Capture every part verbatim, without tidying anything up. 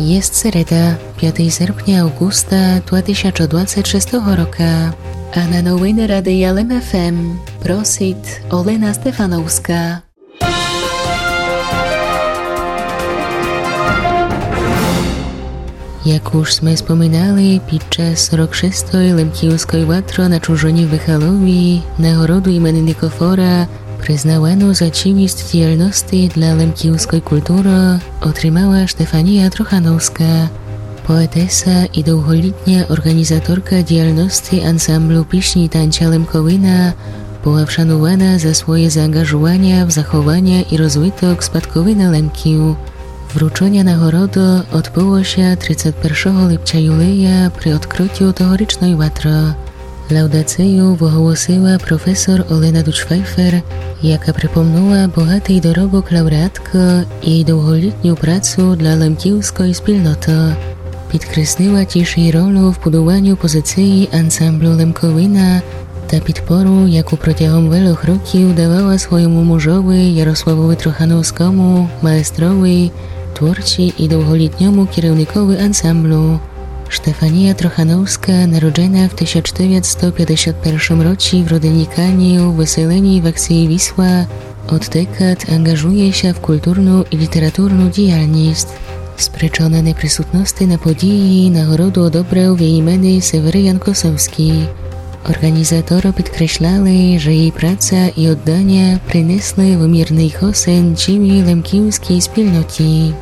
Єст середа, пятый серпня, авґуста, два тисячы двадцет шестого рока. А на новины Радия Лем ФМ просит Олена Стефановска. Як уж сме споминали, під час сорок шестої Лемківской ватры на Чужоні в Михалові нагороду імени Никофора, признавану за чівіст діяльности для лемківской културы, отримала Штефанія Трохановска. Поетеса і довголітня орґанізаторка діяльности ансамблю пісні танця Лемковина была вшанувана за своє заанґажуваня в захованя і розвиток спадковины Лемків. Врученя нагороды одбыло ся тридцет першого липця, юлия, при одкрытю тогорічной ватры. Лаудацию выголосила професор Олена Дудж-Файфер, яка припомнула богатый доробок лауреаткы і довголітню працу для лемківской спільноты. Підкреслила тіж єй ролю в будуваню позиції ансамблю Лемковина та підпору, яку протягом велох років давала свойому мужови Ярославови Трохановскому, маестрови, творці і довголітньому керівникови ансамблю. Штефанія Трохановска, народжена в тисяч девятсто пятдесят першым році в родині Канів, выселеній в акції Вісла, од декад анґажує ся в културну і літературну діяльность. Спричона неприсутности на події нагороду одобрал в єй імени Севериян Косовскій. Орґанізаторы підкресляли, же єй праца і одданя принесли вымірный хосен цілій лемківскій спільноті.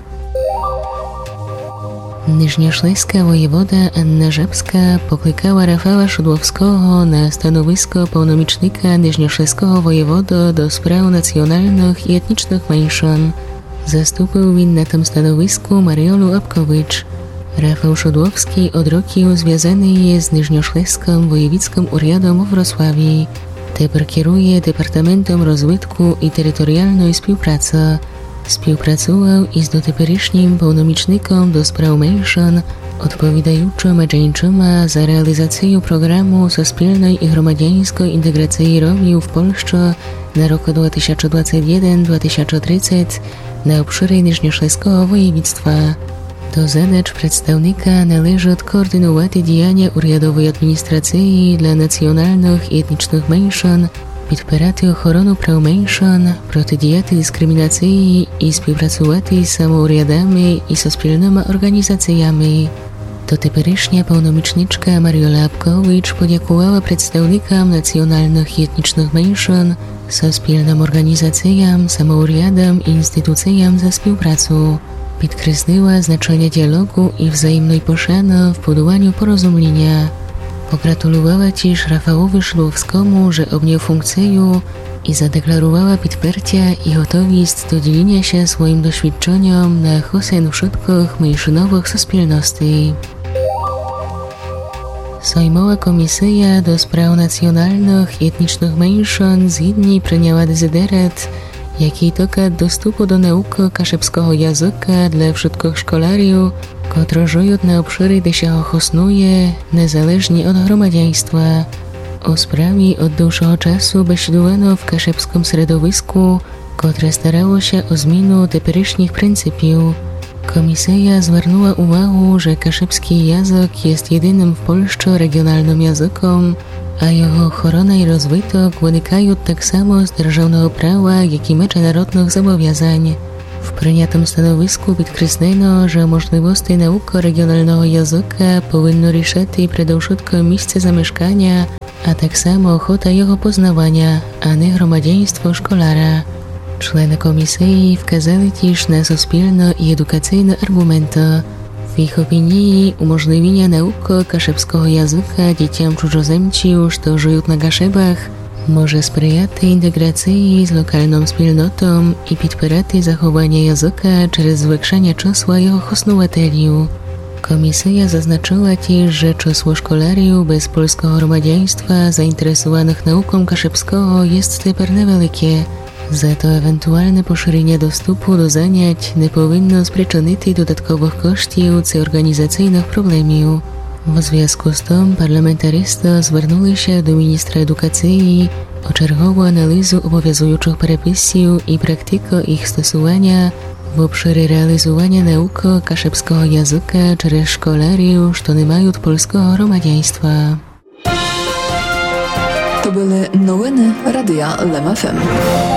Нижньошлеска воєвода Анна Жабска покликала Рафала Шудловского на становиско повномічника нижньошлеского воєводы до справ націоналных і етнічных меншын. Заступил він на тым становиску Маріолу Апкович. Рафал Шудловскій од років звязаный є з Нижньошлескым воєвідскым урядом у Врославі. Тепер керує Департаментом розвитку і територіалной співпрацы. Співпрацувал із дотеперішнім повномічником до справ меншын, одповідаючыма дженчыма за реалізацію програму соспільной і громадяньской інтеґрації Ромів в Польщы на рокы два тисячы двадцет єден, два тисячы тридцет на обшырі Нижньошлеского воєвідства. До задач представника належат координувати діяня урядовой адміністрації для націоналных і етнічных меншын, підпирати охорону прав меншын, протидіяти дискримінації і співпрацувати з самоурядами і соспільныма орґанізациями. Дотеперішня повномічничка Маріола Апкович подякувала представникам націоналных і етнічных меншын, соспільным орґанізациям, самоурядам і інституциям за співпрацу. Підкреслила значеня діалогу і взаємной пошаны в будуваню порозумліня. Погратулувала тіж Рафалови Шудловскому, же обнял функцию, і задекларувала підпертя і готовіст до діліня ся своім досвідченьом на хосен вшыткых меншыновых соспільностей. Соймова комісия до справ націоналных і етнічных меншын згідні приняла дезидерат, якій токат доступу до наукы кашыбского языка для вшыткых школярів, котры жыют на обшырі, де ся го хоснує, незалежні од громадянства. О справі од довшого часу бесідувано в кашыбскым середовиску, котре старало ся о зміну теперішніх принципів. Комісия звернула увагу, же кашыбскій язык єст єдиным в Польщы реґіоналным языком, а його охорона і розвиток выникают так само з державного права, як і меджынародных зобовязань. В принятым становиску підкреслено, же можливости наукы реґіоналного языка повинно рішати предовшытком місце замешканя, а так само охота його познаваня, а не громадянство школяра. Члены комісиі вказали тіж на соспільно і едукацийно арґументы. В їх опінії уможливіня наукы кашыбского языка дітям чужоземців, што жыют на Кашыбах, може сприяти інтеґрациі з локалным спільнотом і підпирати захованя языка через звекшаня чысла його хоснувателів. Комісия зазначыла тіж, же чысло школярів без польского громадянства заінтересуваных науком кашыбского єст тепер невелике. Зато евентуалне пошыреня доступу до занять не повинно спричынити додатковых коштів ци орґанізацийных проблемів. В звязку з тым парламентаристы звернули ся до міністра едукациі о чергову аналізу обовязуючых переписів і практикы їх стосуваня в обшыре реализуваня наукы кашыбского языка через школярів, што не мают польского громадянства. То были новины Радия Лем ФМ.